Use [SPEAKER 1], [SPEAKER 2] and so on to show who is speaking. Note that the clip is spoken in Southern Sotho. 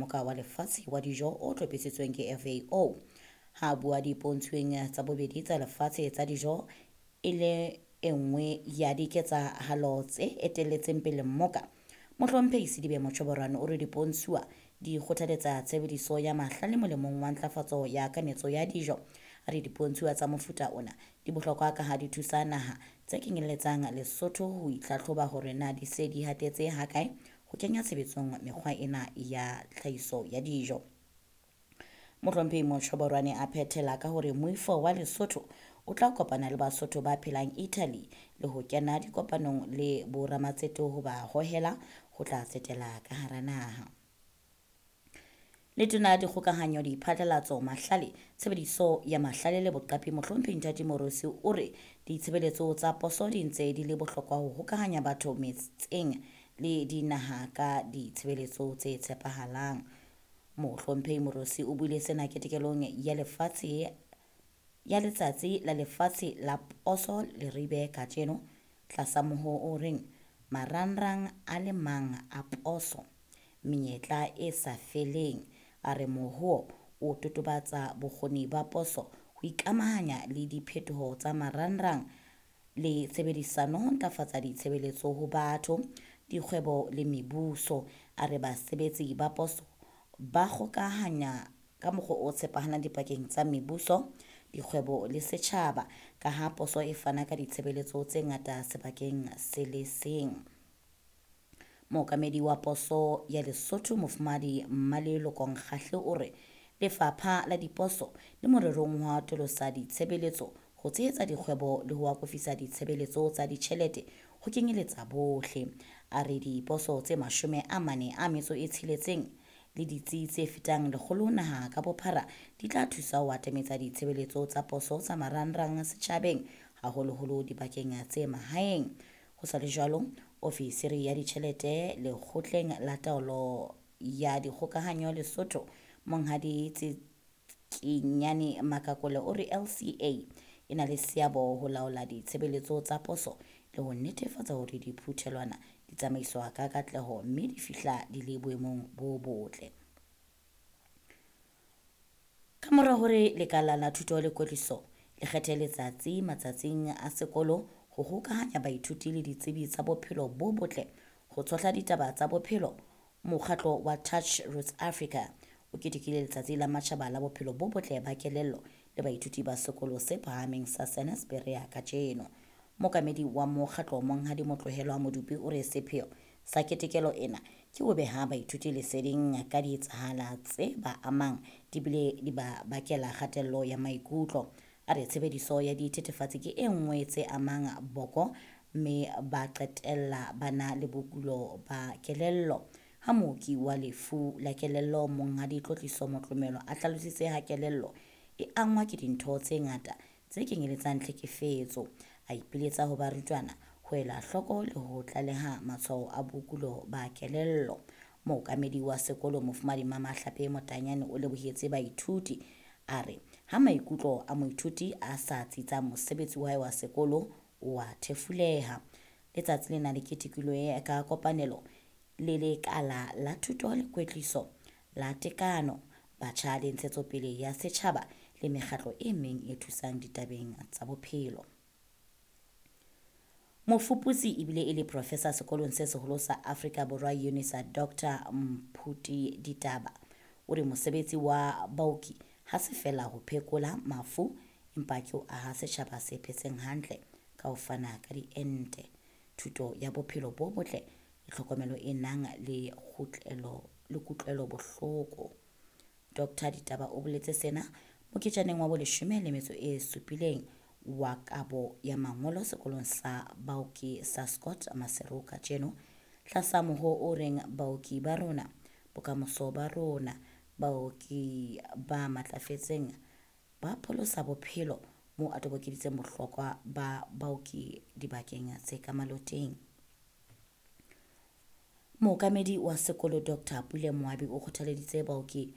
[SPEAKER 1] Moka wa Lefatshe wa Dijo o hlophisitsweng ke FAO. Ha a bua dipontshweng tsa bobedi tsa lefatshe tsa dijo e le e nngwe ya diketsahalo tse etelletseng pele mmoka, Mohlomphehi Sedibe Mochoboroane o re dipontshuwa di kgothaletsa tshebediso ya mahlale molemong wa ntlafatso ya kanetso ya dijo. A re dipontshuwa tsa mofuta ona di bohlokwa ka ha di thusa naha tse kenyelletsang Lesotho ho itlhatlhoba hore na di se di hatetse hakae ho kenya tshebetsong mekgwa ena ya tlhahiso ya dijo. Mohlomphehi Mochoboroane a phethela ka hore moifo wa Lesotho o tla kopana le Basotho ba phelang Italy le ho kena dikopanong le boramatsete ho ba hohela ho tla tsetela ka hara naha. Letona la Dikgokahanyo, Diphatlalatso, Mahlale, Tshebediso ya Mahlale le Boqapi Mohlomphehi Nthati Morusi o re ditshebeletso tsa poso di ntse di le bohlokwa ho hokahanya batho metseng le dinaha ka ditshebeletso tse tshepahalang. Mohlomphehi Morusi o buile sena ketekelong ya lefatshe ya letsatsi la lefatshe la poso Leribe kajeno tlasa moho o reng marangrang a le mang a poso menyetla e sa feleng. A re moho o totobatsa bokgoni ba poso ho ikamahanya le diphetoho tsa marangrang le tshebedisano ho ntlafatsa ditshebeletso ho batho, dikgwebo le mebuso. A re basebetsi ba poso ba kgokahanya ka mokgwa o tshepahalang dipakeng tsa mebuso, dikgwebo le setjhaba ka ha poso e fana ka ditshebeletso tse ngata sebakeng se le seng. Mookamedi wa poso ya Lesotho Mofumahadi Mmaleloko Nkgahle o re lefapha la diposo le morerong wa atolosa ditshebeletso ho tshehetsa dikgwebo le ho akofisa ditshebeletso tsa ditjhelete ho kenyeletsa bohle. A re diposo tse 46 le ditsi tse fetang 100 naha ka bophara di tla thusa ho atametsa ditshebeletso tsa poso tsa marangrang setjhabeng, haholoholo dibakeng tse mahaeng. Ho sa le jwalo, ofisiri ya ditjhelete lekgotleng la taolo ya dikgokahanyo Lesotho Monghadi Tsikinyane Makakole o re LCA e na le seabo ho laola ditshebeletso tsa poso le ho netefatsa hore diphuthelwana di tsamaiswa ka katleho mme di fihla di le boemong bo botle. Ka mora hore lekala la thuto le kwetliso le kgethe letsatsi matsatsing a sekolo ho hokahanya baithuti le ditsebi tsa bophelo bo botle ho tshohla ditaba tsa bophelo, mokgatlo wa Touch Roots Africa o ketekile letsatsi la matjhaba la bophelo bo botle ba kelello le baithuti ba sekolo se phahameng sa Senus Berea kajeno. Mookamedi wa mokgatlo Monghadi Motlohelwa Modupi o re sepheo sa ketekelo ena ke ho beha baithuti leseding ka dietsahala tse ba amang di bile di ba bakela kgatello ya maikutlo. A re tshebediso ya dithethefatsi ke e nngwe tse amang boko mme ba qetella ba na le bokulo ba kelello. Ha mooki wa lefu la kelello Monghadi Tlotliso Motlomelo a hlalositse ha kelello e angwa ke dintho tse ngata tse kenyeletsang tlhekefetso. A ipiletsa ho barutwana ho ela hloko le ho tlaleha matshwao a bokulo ba kelello. Mookamedi wa sekolo Mofumahadi Mamahlape Motanyane o lebohetse baithuti. A re ha maikutlo a moithuti a sa tsitsa mosebetsi wa hae wa sekolo o a thefuleha. Letsatsi lena le ketekilwe ka kopanelo le lekala la thuto le kwetliso la tekano, batjha le ntshetsopele ya setjhaba le mekgatlo e meng e thusang ditabeng tsa bophelo. Mofuputsi ebile e le professor sekolong se seholo sa Afrika Borwa UNISA Dr Mphuti Ditaba o re mosebetsi wa baoki ha se feela ho phekola mafu empa ke ho aha setjhaba se phetseng hantle ka ho fana ka diente, thuto ya bophelo bo botle le tlhokomelo e nang le kgutlelo le kutlwelo bohloko. Dr Ditaba o boletse sena moketjaneng wa bo17 wa kabo ya mangolo sekolong sa baoki sa Scott Maseru kajeno tlasa moho o reng baoki ba rona bokamoso ba rona, baoki ba matlafetseng ba pholosa bophelo, moo a tobokeditseng bohlokwa ba baoki dibakeng tse ka maloteng. Mookamedi wa sekolo Dr Pule Moabi o kgothaleditse baoki